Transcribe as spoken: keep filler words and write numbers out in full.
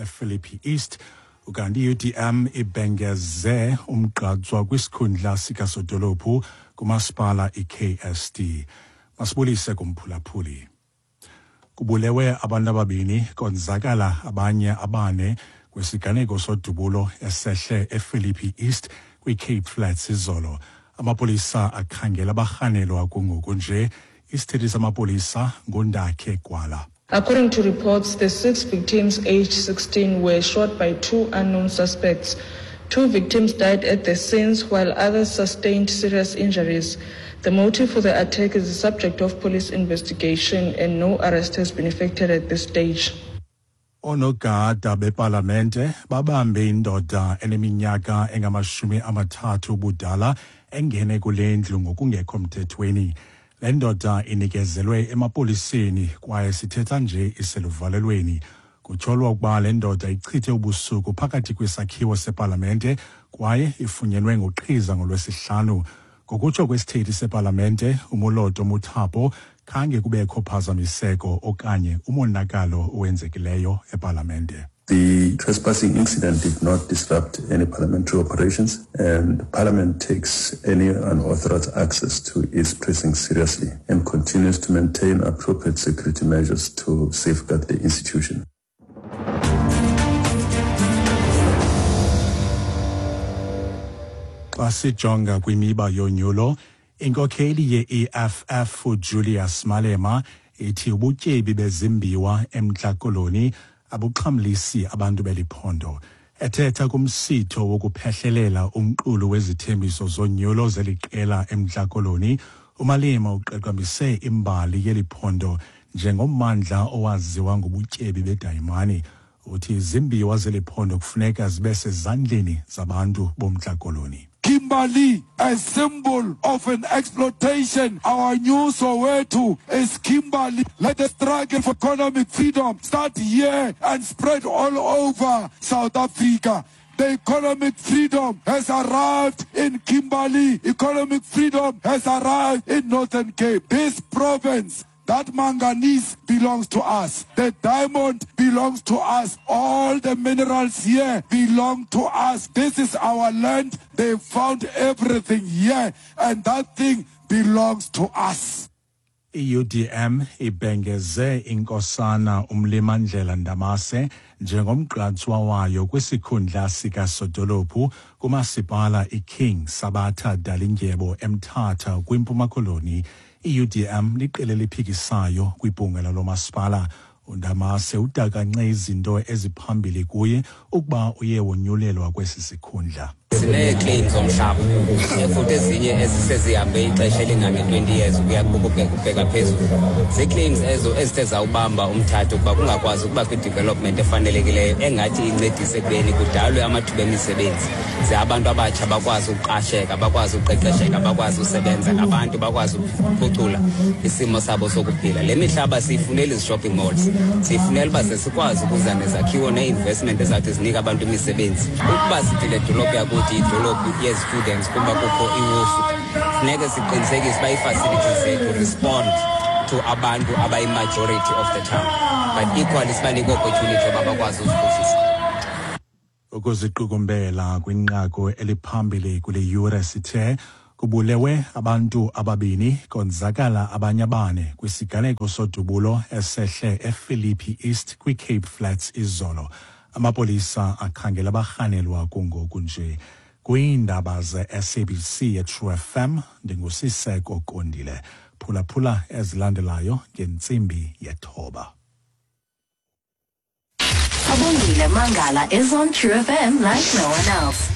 ePhilippi East. Ukanti i-U D M ibhengeze umgqatswa kwisikhundla sikasodolophu kumasipala i-K S D. Masibulise kumphulaphuli. Kubulewe abantu ababini konzakala abanye abane kwisiganeko sodubulo esehle ePhilippi East kwi-Cape Flats izolo. Amapolisa akhangela abarhanelwa kungoku nje. Isithethi samapolisa nguNdakhe Gwala. According to reports, the six victims aged sixteen were shot by two unknown suspects. Two victims died at the scenes while others sustained serious injuries. The motive for the attack is the subject of police investigation and no arrest has been effected at this stage. Onogada bepalamente babambe indoda eneminyaka engamashumi amathathu ubudala engene kule ndlu ngokungekho mthethweni. Le ndoda inikezelwe emapoliseni kwaye sithetha nje iseluvalelweni. Kutyholwa ukuba le ndoda ichithe ubusuku phakathi kwesakhiwo sepalamente kwaye ifunyenwe ngoqhiza ngolwesihlanu. Ngokutsho kwesithethi sepalamente uMoloto Muthapo, khange kubekho phazamiseko okanye umonakalo owenzekileyo epalamente. The trespassing incident did not disrupt any parliamentary operations, and Parliament takes any unauthorized access to its precincts seriously and continues to maintain appropriate security measures to safeguard the institution. Xa sijonga kwimiba yonyulo, inkokheli ye-E F F uJulius Malema ithi ubutyebi bezimbiwa eMntla Koloni abuxhamlisi abantu beliphondo. Ethetha kumsitho wokuphehlelela umqulu wezithembiso zonyulo zeliqela eMntla Koloni, uMalema uqaqambise imbali yeliphondo njengommandla owaziwa ngobutyebi bedayimani. Uthi izimbiwa zeliphondo kufuneka zibe sezandleni zabantu boMntla Koloni. Kimberley, a symbol of an exploitation. Our new Soweto is Kimberley. Let the struggle for economic freedom start here and spread all over South Africa. The economic freedom has arrived in Kimberley. Economic freedom has arrived in Northern Cape. This province, that manganese belongs to us. The diamond belongs to us. All the minerals here belong to us. This is our land. They found everything here, and that thing belongs to us. I U D M ibhengeze inkosana uMlimandlela Ndamase njengomgqatswa wayo kwisikhundla sikasodolophu kumasipala iKing Sabatha Dalindyebo eMthatha kwiMpuma Koloni. I U D M liqela eliphikisayo kwibhunga lalomasipala. uNdamase udakance izinto eziphambili kuye ukuba uye wonyulelwa kwesi sikhundla. Sinee-claims zomhlaba futhi ezinye ezisezihambe ixesha elingange-twenty years ukuya kubheka phezulu. Zii-claims ezo ezithe zawubamba umthatha ukuba kungakwazi ukuba kwi-development efanelekileyo engathi incedise ekubeni kudalwe amathuba emisebenzi, ze abantu abatsha bakwazi ukuqasheka, bakwazi ukuqeqesheka, bakwazi usebenza ngabantu, bakwazi ukuphucula isimo sabo sokuphila. Le mihlaba siyifunela izi-shopping malls, siyifunela uba ze sikwazi ukuza nezakhiwo nee-investment ezawuthi zinike abantu imisebenzi. Ukuba sithi le dolophu yakuthi idolophu yezi-students kuba kukho iWosu, funeke siqinisekise uba ii-facilities zethu respond to abantu abayi-majority of the town, but equally sibanike opportunity yoba bakwazi uziphuhlisa. Ukuziqukumbela kwinqaku eliphambili kule yure sithe kubulewe abantu ababini konzakala abanye abane kwisiganeko sodubulo esehle ePhilippi East kwiCape Flats izolo. Amapolisa akhangela abarhanelwa kungoku nje. Kwiindaba ze-S A B C ye-True F M, ndinguSiseko Kondile. Phulaphula ezilandelayo ngentsimbi yethoba. Abongile Mangala is on True F M like no one else.